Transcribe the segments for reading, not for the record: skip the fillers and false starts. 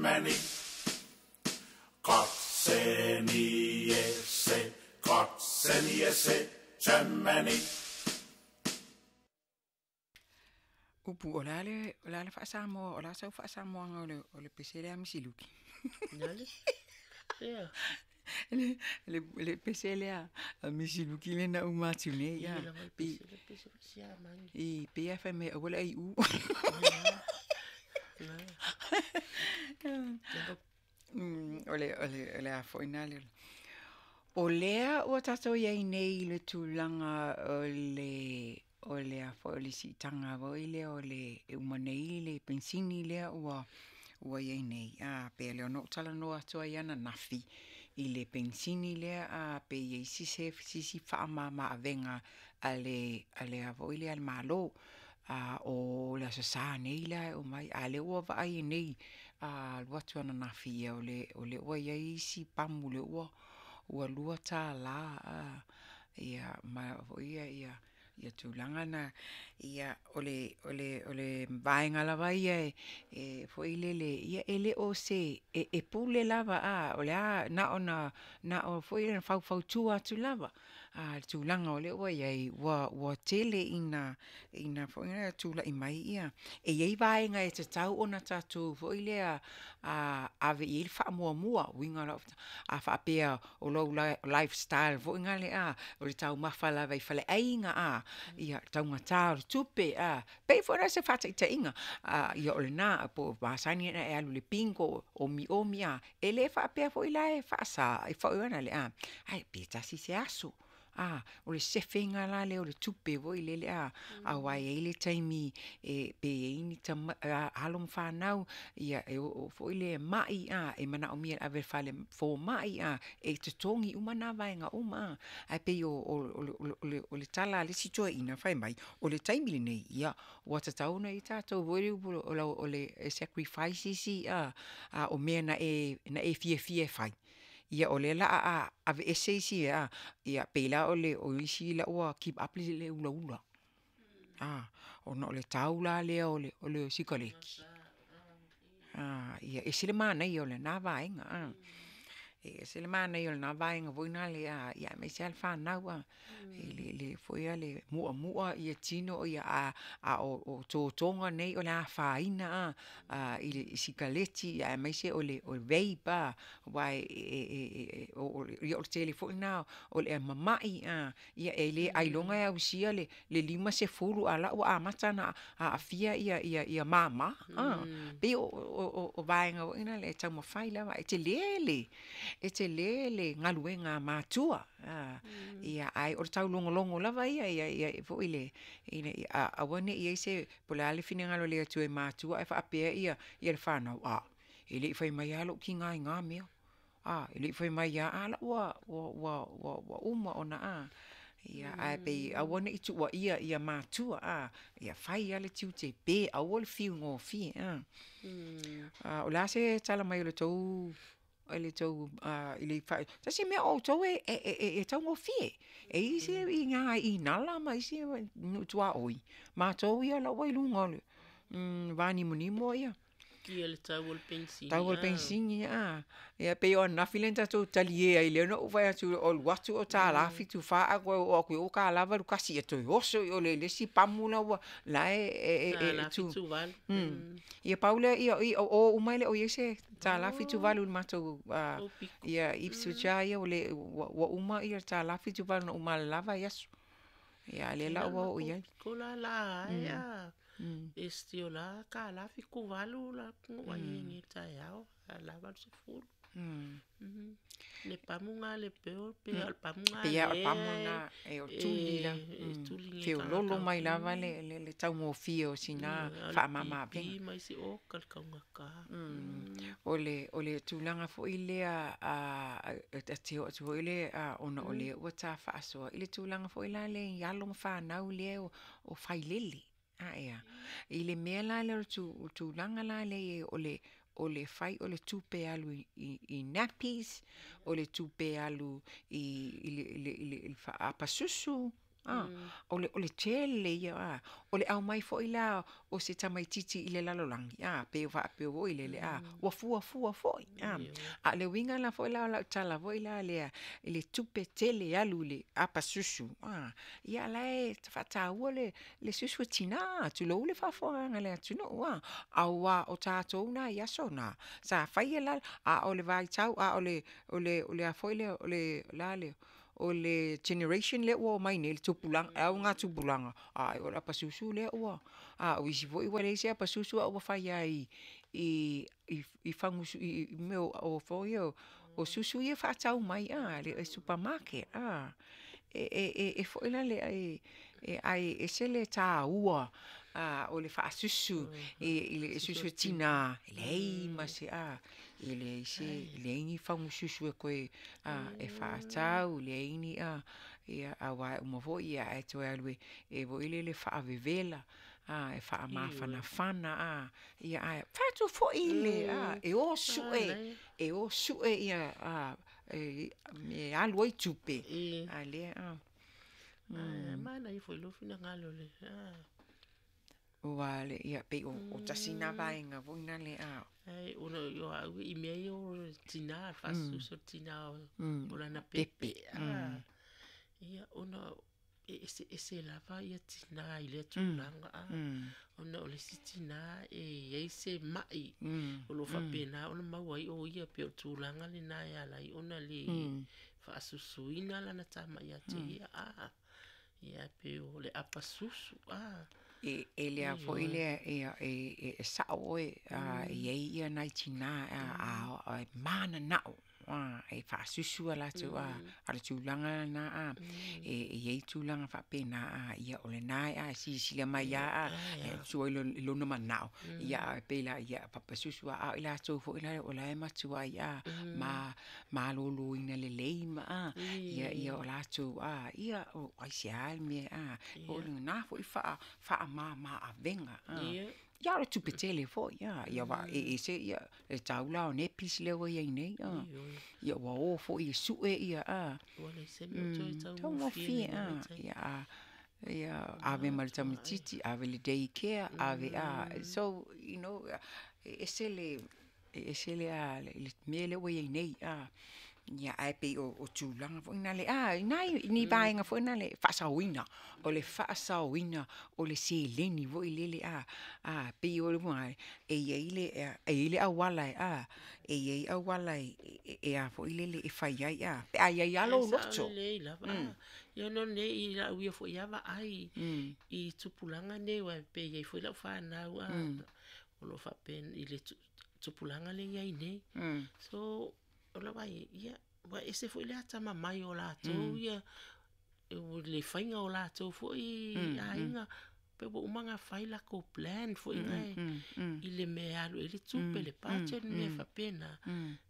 Germany. Kotseniese, Kotseniese, Germany. Upu o le a le, o le a le faa-Samoa, o le a sau faa-Samoaga o le, o le pese lea a Misi Luki? Ea. Le, le, le pese lea a Misi Luki lea na uma atu nei, a. Pe, i, pei lava fai mai aua le ai u. O le, o le, o le a foi na le. O lea ua tatou i ai nei i le tulaga o le, o le a foi o le siitaga foi lea o le e uma nei le penisini lea ua ua i ai nei, a pei o lea na ou talanoa atu ai ananafi i le penisini lea a pe i ai se isi faamama avega a le a le a foi lea a le Malo. A o le Aso Sa nei la e omai, a o lea ua vaai ai nei a alu atu ananafi ia o lea ua i ai isi pamu lea ua ua $2 a ia ma foi ia ia ia tulaga na. Ia o le o le o le vaega lava ia e foi lele ia e le o se e pule lava a o le a na ona na o foi lele faufautua atu lava. A o le tulaga o lea ua i ai, ua ua tele ina ina foi lea tulai mai ia, e i ai vaega e tatau ona tatou foi lea ave i ai le faamuamua, uiga o lau, a faapea o lou lifestyle foi lea a, o le taumafa lava i faleaiga a, ia taugata o le tupe a, pei foi la o se faataitaiga, ia o lena, po o masani ona e alu i le bingo, omiomi a, e le faapea foi la e faasa, ae pe tasi se aso. A, o le sefe ina la lea o le tupe foi lele a, aua e i ai le taimi e pe i ai ni alo ma fanau ia e oo foi lea e mai a, e manaomia e ave i le fale fomai a, e totogi uma na vaega uma a. Ae pei o le tala a le isi toeaina fai mai, o le taimi lenei, ia ua tatau ona i ai tatou foi lea o le sacrifice isi a o mea na e fiafia e fai, ia o lea o le a aveese isi a, ia pei la o isi la ua give up le ulaula, ona o le tau la lea o le sikaleki. Ia e ese le manaia o lena vaega a. E ese le manaia o lena vaega foi lea aemaise lava le fanau a, i le foi lea muamua tino a o totoga nei o le afaina i le sikaleti aemaise o le vape a, aua o le tele foi lena o le mamai a, ia e le ailoga e ausia le 50 a o la ua amata ona aafia mama a. E pei o vaega foi na e taumafai lava, e tele le, e tele le galuega a matua, ae o le taulogologo lava ia foi lea ina ia aua ne i i ai se, po o le a le finagalo o le Atua i matua ae faapea le fanau, a, e le i fai mai lava lou tina i na mea. A, e le i fai mai lava, a o la ua uma ona a. Ia ae pei aua ne i tuuaia matua a, ia fai lava le tiute pe aua le fiu gofie a. O le a se tala mai a le tou tasi mea o outou e taugofie. E i ai isi i ina i Inala ma isi nuu tuaoi, matou ia o la ua i luga o le va nimonimo ia. Ia le tau o le penisini. Tau o le penisini a. Ia pei o ananafi lea na tatou talie ai lea na ou fai atu o alu atu o $1.74 ae toe oo atu i o ua $1.81, ia toe oso i o i le isi pamu la ua la e $1.78. Ia pau lea ia o o uma e le o i ai se $1.78 i le matou ia Ipswich lava ia ua uma le $1.78 na ou malamalama ai aso. Ia a o lea la ua oo i ai. Ko la la ai a. E si o la $1.78 la no ai ni taeao a la 80. Le pamu ngā le peo, pe o le pamu ngā le. Pei o le pamu na e o tuli la. Feololo mai lava le taugofie o sina faamama avega. Pi mai si o ka kaungata. O le tulaga foi lea ta te oo atu foi lea ona o lea ua ta faasoa i le tulaga foi la lea i alo ma fanau lea o failele. Ea, i le mea la lea o le tulaga la lea e i ai o le fai o le tupe alu i nappies, o le tupe alu i le faaapa susu. A, o le tele ia, a, o le aumai foi la o se tamaitiiti i le lalolagi, a, pe faapea foi lele, a, ua fuafua foi, a. A o le uiga la foi la o lau tala foi la lea i le tupe tele e alu i le apasusu, a, ia la e faataua le susu a tina, tulou le faafofogaaga a le atunuu, a, aua o tatou na i aso na, sa faia la, a o le vaitau, a o le a foi lea, o le a lea, o le generation lea ua omai nei, le tupulaga, le augatupulaga, ai o le apasusu lea ua, a o isi foi ua leai se apasusu ae ua fai lava i fagu i mea foi ia o susu ia e faatau mai i le supermarket. E foi la lea, ae ese le taua o le faasusu i le susu a tina, e leai ma se, e leai se, leai ni fagu susu e toe e faatau, leai ni, ia aua e uma foi ae toe alu e foi lele e faavevela, e faamafanafana, a, ia ae fai atu foi le, e o sue, e o sue ia mea e alu ai tupe, a o lea. E manaia foi lou finagalo le. Ua le, ia, pei o tasi na vaega foi na le a. Ai, ona o au i mea ia o tina, faasusu o tina o lana pepe. Ia, ona e eseese lava ia tina i lea tulaga. Ona o le isi tina e i ai se mai o lo o faapena ona maua ai o ia, pei o le tulaga lena e ala ai ona le faasusuina lana tama ia te ia. Ia, pei o le apasusu. E lea foi lea, e sao oe, e i ai ia nai tina e mananao e faasusu a latou, a o le tulaga lena, e i ai tulaga faapena, ia o lena e silasila mai lava, e sua i lona manao, ia e pei la, ia apasusu lava, a o i latou foi la o la e matuai maloloina lelei ma ia, ia o latou, ia, o aisea le mea, o lena foi faamama avega. Ia o le tupe tele foi, ia aua e ese ia le tau la o nappies lea ua i ai nei, ia ua o foi e sue ia, taugofie, ia, ia ave ma le tamaitiiti, ave i le day care, ave, so you know, e ese le, e ese le mea lea ua i ai nei, ia, ae pei o tulaga foi na le, nai ni vaega foi na le faasaoina, o le faasaoina o le seleni foi lele, pei o le e i ai le, e i ai le auala e, e i ai auala e a foi lele e fai ai, pe a i ai lava lou loto. E sao lelei lava. Ia ona nei i lau ia foi lava vaai i tupulaga nei, aua e pei e i ai foi lau fanau o lo o faapena i le tupulaga lea e i ai nei. So, o lau vaai, ia, ua ese foi le atamamai o latou ia, le faiga o latou foi aiga, pe ua uma ona fai lakou plan foi na i le mea e alu i ai le tupe, le budget, mea faapena.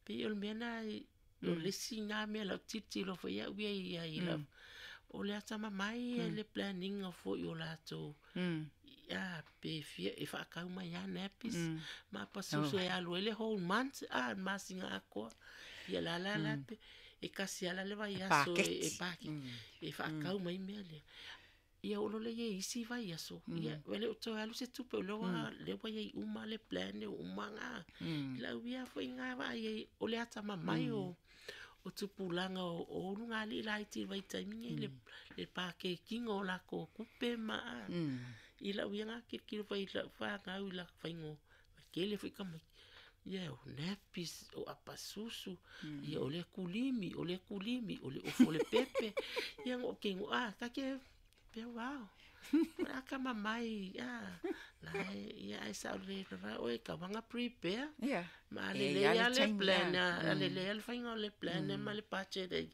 Pei o le mea na, o le isi na mea o lau tilotilo foi au ia i ai, o le atamamai le plan ina foi o latou, pe fia, e faatau mai lava nappies, ma apasusu e alu ai le whole month, le masina atoa. Ia la la la pe, e tasi lava la le vaiaso e paketi, e faatau mai mea lea. Ia oo loa lea i ai isi vaiaso, ia ua le o toe alu se tupe, o lea ua, lea ua i ai uma le plan ua uma ona. I lau ia foi na vaai ai, o le atamamai o tupulaga o ulugalii laiti i le vaitaimi lenei, le pakekiina o latou tupe ma i lau ia na tilotilo foi i lau fanau i latou faiga, tele foi tamaiti. Ia o nappies, o apasusu, ia o le kulimi, o le kulimi, o le ofo o le pepe. Ia no ke no a, ka ke pe wow. Atamamai, la e, ia ai sa le va o e ka wanga prepare. Ma le le ia le plan, a le le le faiga o le plan ma le budget e.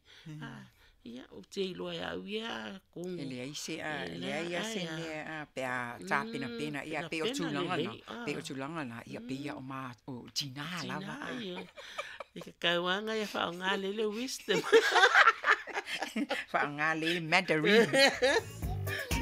Ia o te iloa e au ia kongo. E leai se, e leai lava se mea pe a tapenapena, ia pei o tulaga na, pei o tulaga na, ia pei ia o ma, o tina lava. Tina, ia. E ka kauanga ia whaonga lele wisdom. Whaonga lele Mandarin.